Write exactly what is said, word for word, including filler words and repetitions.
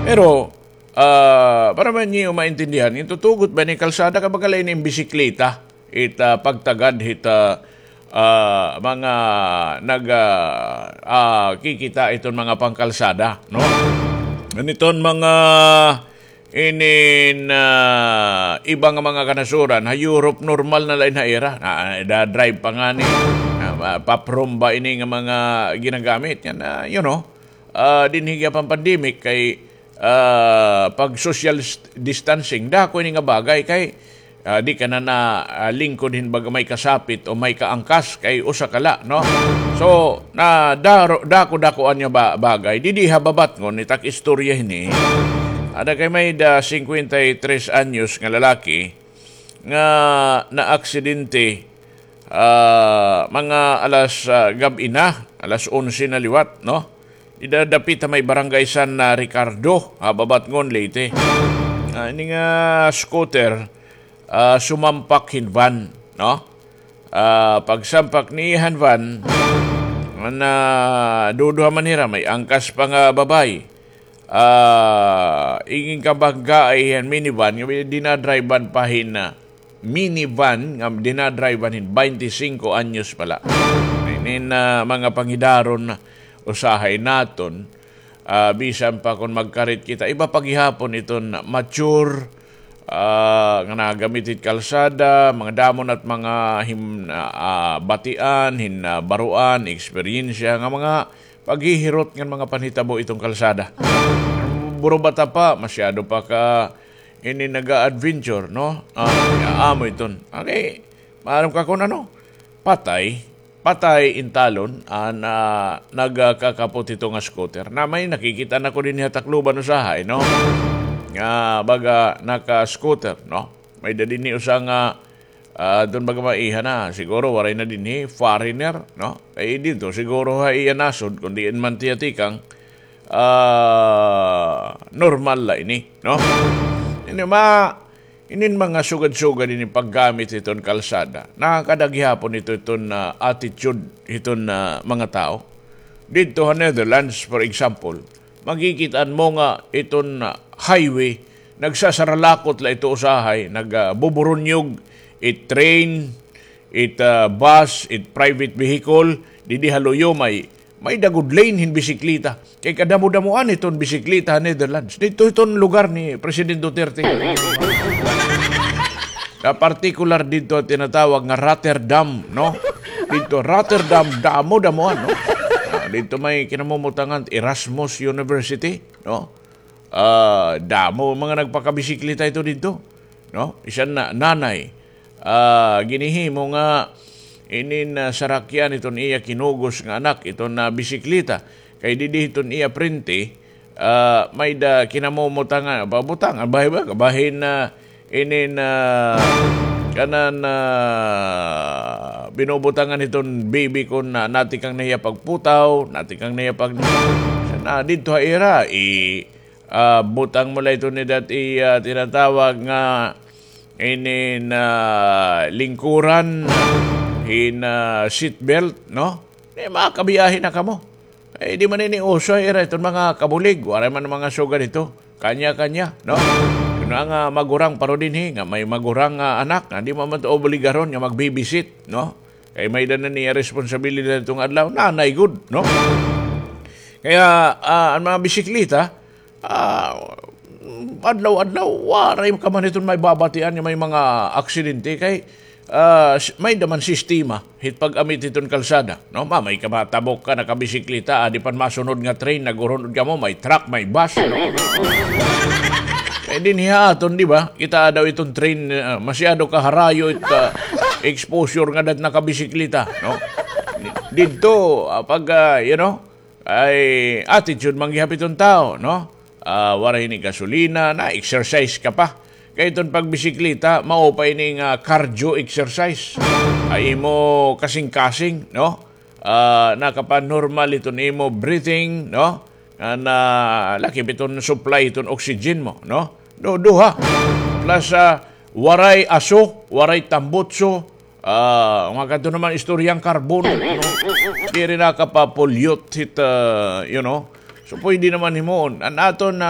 Pero, ah, para man niyo maintindihan, it tutugot ba ini kalsada, kay baga la ini bisikleta, it, ah, pagtagad hit, ah, ah, mga nag, ah, ah, kikita iton mga pangkalsada, no? Iton mga inin, ah, iba nga mga kanasuran, ha Europe normal na la ini ha ira. Na, da-drive pa ngani. Na, ah, paprom ba ini nga mga ginagamit? Yana, you know, ah, dinhi gihapon pandemic kay, ah, pag social s-, distancing, dako ini nga bagay kay, ah, di ka na na, ah, lingkod hin baga may kasapit o may kaangkas kay usa ka la, no? So, na daro, dako-dako an iya ba-, bagay. Didi ha Babatngon, it ak istorya hini. Ada kay may-ada singkwenta y tres anyos nga lalaki nga naaksidente, ah, mga alas, ah, gab-i na, alas onse na liwat, no? Dida dapit ha may Barangay San, ah, Ricardo, ha Babatngon, Leyte. Ah, ini nga scooter, ah, sumampak hin van, no? Ah, pagsampak niya han van, naduduha man hira, may angkas pa nga babaye. Ah, ingin kabanggaay han minivan, nga dinadrivean pa hin, ah, minivan, nga dinadrivean hin baynte singko anyos pa la. Inin, ah, mga pangidaron usahay naton, ah, bisan pa kon magkarit kita, iba pa gihapon iton mature, ah, nga nagamit hit kalsada, mga damo na it mga him-, ah, ah, batian, hin, ah, baruan, eksperyensya nga mga paghihirot ngan mga panhitabo iton kalsada. Burubata pa, masyado pa ka ini naga-adventure, no? Ah, amo iton. Okay, maaram ka kon ano? Patay, patay intalon an, ah, nagkakapot hito nga scooter. Na may nakikita na ko dinhi ha Tacloban usahay, no? Nga baga naka-scooter, no? May-ada dinhi usa nga, ah, adton baga maiha na, siguro waray na dinhi, foreigner, no? Kay didto siguro ha iya nasod, kon diin man tiya tikang, ah, normal la ini, no? Ini ma-, Inin mga sugad-sugad ini paggamit hiton kalsada, nakakada gihapon ito iton, ah, attitude hiton, ah, mga tawo. Didto ha Netherlands, for example, makikit-an mo nga iton, ah, highway, nagsasaralakot la ito usahay, nag, ah, buburunyog it train, it, ah, bus, it private vehicle, didi ha luyo may, may-ada gud lane hin bisikleta. Kay kadamo-damoan iton bisikleta ha Netherlands. Didto iton lugar ni President Duterte. Na partikular didto an tinatawag nga Rotterdam, no? Didto Rotterdam, damo-damoan, no? Ah, didto may kinamumutangan Erasmus University, no? Ah, damo mga nagpakabisikleta ito didto, no? Isan na, nanay, ah, ginhihimo nga inin, ah, sarakyan iton iya kinugos nga anak iton, ah, bisikleta. Kay didi hiton iya prente, ah, may-ada kinamumutangan, pabutangan, bahin ba, bahin na inin, ah, kanan, ah, binubutangan hiton baby kon na, natikang na hiya pagputaw, natikang na hiya pag-, na didto ha ira, i-, ah, butang mo la ito ni dati, ah, tinatawag nga inin, ah, lingkuran hin, ah, seat belt, no? Di makabiyahe na kamo. Eh, di man ini uso, ira iton mga kabulig, waray man mga sugad ito. Kanya-kanya, no? Kuno nga magurang paro dinhi, nga may magurang nga anak, nga di man man to obligaron nga mag-babysit, no? Kay may-ada na niya responsibilidad itong adlaw, nanay gud, no? Kaya, ah, ang mga bisikleta, ah, adlaw-adlaw, waray ka man iton may babatian nga may mga aksidente kay, ah, s-, may-ada man sistema hit pag-amit hiton kalsada, no? Ma-, may ka matabok ka, nakabisikleta, adi pa an masunod nga train, nag-uhunod kamo, may truck, may bus, no? Kay dinhi ha aton, di ba? Kita daw iton train, ah, masyado kaharayo it, ah, exposure ngada hit nakabisikleta, no? Didto, ah, pag, ah, you know, ay attitude man gihap iton tawo, no? Ah, waray ini gasolina, na-exercise ka pa. Kay iton pagbisikleta, mao pa ini nga cardio exercise. Ay imo kasingkasing, no? Ah, nakapanormal iton imo breathing, no? Nga na, lakip iton supply iton oxygen mo, no? Do, duha. Plus, ah, waray aso, waray tambutso, ah, mga kadto naman istorya an carbon, no? Diri nakapa-pollute hit, ah, you know. So, pwede naman himuon. An aton, ah,